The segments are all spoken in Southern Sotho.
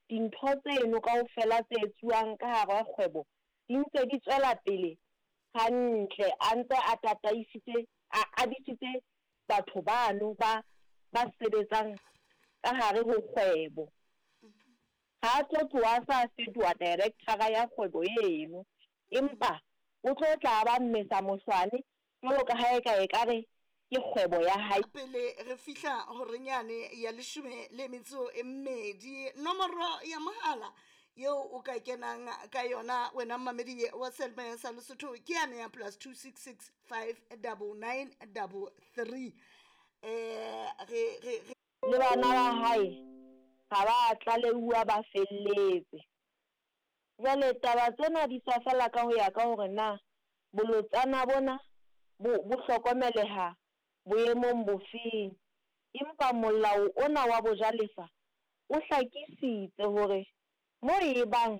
dintho tseno kaofela tse etsuwang ka hara kgwebo di ntse di tswela pele hantle a ntse a tataisitse a a disitse batho bano ba ba sebetsang ka hare ho kgwebo. Ha a tlo tloha a sa fetoha director-ra ya kgwebo eno empa o tlo tla a ba mmesa mohlwane jwalo ka ha eka ekare ke kgwebo ya hae. Pele re fihla horeng yane ya leshome le metso e mmedi, nomoro ya mohala yeo o ka kenang ka yona wena mmamedi wa Selma sa Lesotho ke yane ya plus 266 599 33 re re re Le bana ba hae ha ba a tlaleuwa ba felletse. Jwale taba tsena di tswa feela ka ho ya ka hore na bolotsana bona bo bo hlokomeleha boemong bofeng. Empa molao ona wa bojalefa o hlakisitse hore mo e bang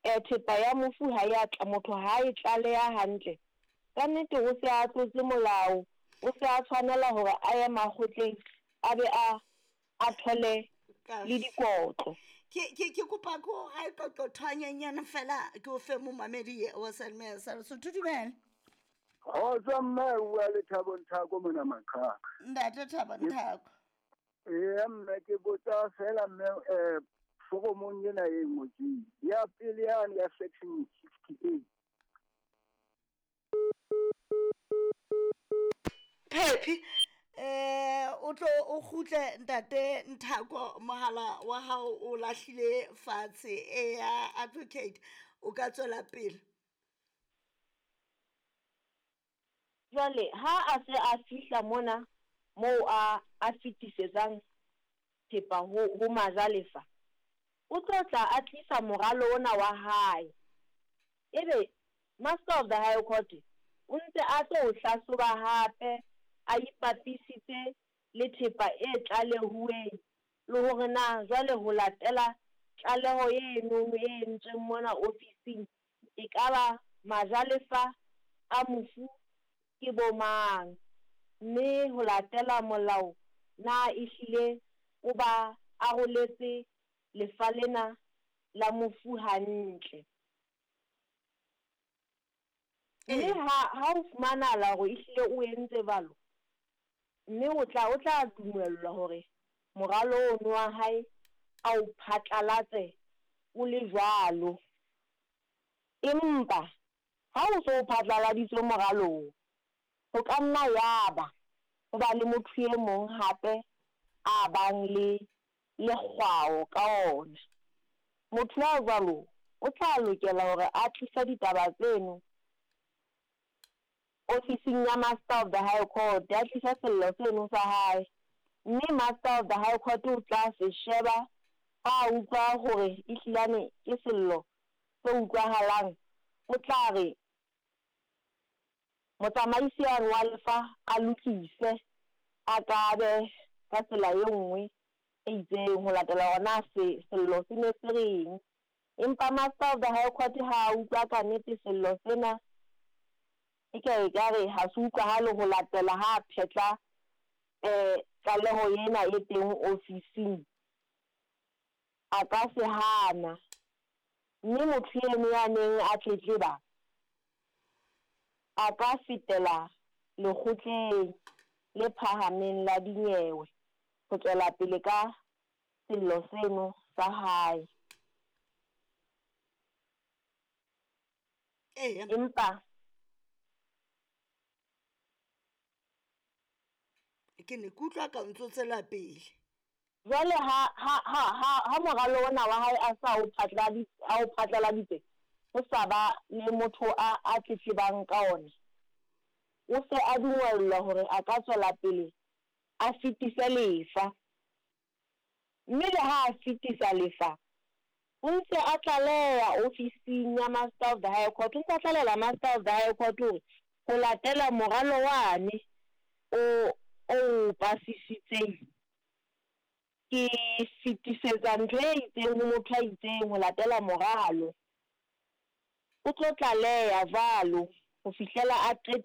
thepa ya mofu ha e a tla, motho ha a e tlaleha hantle, ka nnete o se a tlotse molao, o se a tshwanela hore a ye makgotleng a be a a thole le dikotlo. Ke ke ke kopa ko ga e qoqothwanyenyana fela ke o fe momamedi wa Selma sa Lesotho. Dumela. Kgotso mme, o bua le Thabo Nthako mona Maqhaka. Ntate Thabo Nthako. Eya mme, ke botsa fela mme, foromong ena e ngotsweng ya pele yane ya section 68. Phephi o tlo o kgutle ntate Nthako, mohala wa hao o lahlile fatshe. Eya advocate, o ka tswela pele. Jwale ha a se a fihla mona moo a a fetisetsang thepa ho ho majalefa, o tlo tla a tlisa moralo ona wa hae. Ebe Master of the High Court o ntse a tlo o hlahloba hape a ipapisitse le thepa e tlalehuweng le hore na jwale ho latela tlaleho enono e entsweng mona ofising ekaba majalefa a mofu ke bo mang, mme ho latela molao na ehlile o ba aroletse lefa lena la mofu hantle. Mme ha ha ho fumanahala hore ehlile o entse jwalo, mme o tla o tla dumellwa hore moralo ono wa hae a o phatlalatse o le jwalo. Empa ha o so o phatlaladitswe moralo oo, ho ka nna yaba ho ba le motho e mong hape a bang le lekgwao ka ona. Motho ya jwalo o tla lokela hore a tlise ditaba tseno ofising ya Master of the High Court, a tlise sello seno sa hae, mme Master of the High Court o tla se sheba ha a utlwa hore ehlilane ke sello se utlwahalang, o tla re motsamaisi yane wa lefa a lokise, a kabe ka tsela e nngwe e itseng ho latela hore na se sello se ne se reng. Empa Master of the High Court ha a utlwa ka nnete sello sena e ka ekare ha se utlwahale ho latela ha a phetla tlaleho ena e teng ofising, a ka se hana. Mme motho eno ya neng a tletleba a ka fetela lekgotleng le phahameng la dinyewe ho tswela pele ka sello seno sa hae. Eya. Empa Ke ne ke utlwa ka o ntso tswela pele. Jwale ha ha ha ha ha moralo ona wa hae a sa o a o phatlaladitse, ho sa ba le motho a a tletlebang ka ona, o se a dungwellwa hore a ka tswela pele a fetise lefa. Mme le ha a fetisa lefa, o ntse a tlaleha ofising ya Master of the High Court, o ntse a tlalehela Master of the High Court hore ho latela moralo wane o o pasisitseng, ke fetisetsa ntho e itseng ho motho a itseng ho latela moralo. O tlo tlaleha jwalo ho fihlela a qetile.